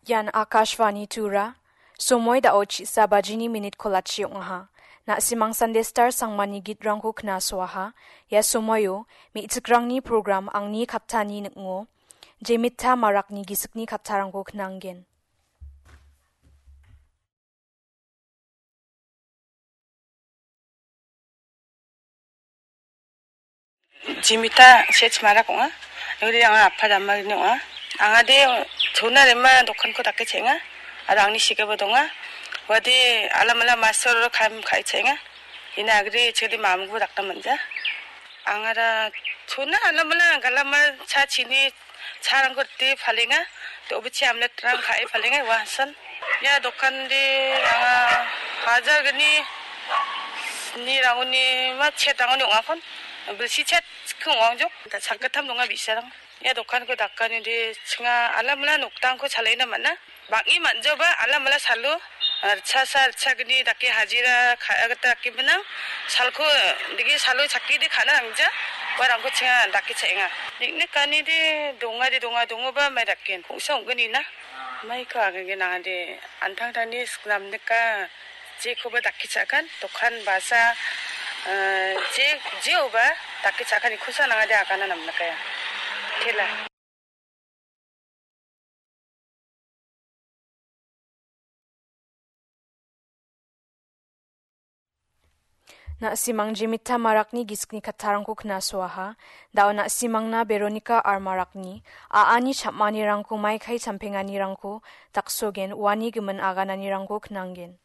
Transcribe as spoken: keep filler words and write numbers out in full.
Ian Akashvani Tura, somoi dao chisa bajini minit kolachi ong·aha. Na·simang Sunday Star sangmani gitrangko knasoaha. Ia somoio me·chikrangni program Angni Kattani ning·o, Jemita Marakni gisikni kattarangko knanggen. Jimita Sech Marak ong·a. Uri anga apa dama ini ong·a. Anga de chona rema dokanko dake chenga. Ada angni sigaba donga. Wadi alam alam masor kam kai chenga. Ina agri chedi mamgu dakna manja. Angara chona alam alam galama cha chini charangko te palenga. Te obichi amlet rang kai palenga wasan. Ya dokan de anga hajar gni ni ranguni ma chet ranguni ong·akon. Bilsi chet kung ong jok. Ta chakkatam donga bisarang. Ia dokanko dakani de chinga alamala noktangko chalaina man·a. Bang·e man·joba alamala salo, ah, ritchasa ritchagni dake hajira ka·a gita dake gnang. Salko digi salo chakki de ka·na nangja. Uarangko chinga dake cha·enga. Niknikani de donga de donga dongoba mai daken. Kongsa ong·gnina. Maiko agenge nangade antangtangni siknamnika. Jekoba dake cha·kan, dokan basa, eh, je, jeoba dake cha·kan ikosa nangade agana namnakaya. Tela. Na·simang Jemita Marakni gisikni kattarangko knasoaha. Dao na·simangna Veronica R Marakni a·ani cham·anirangko maikai champenganirangko daksogen uani gimin agananirangko knanggen.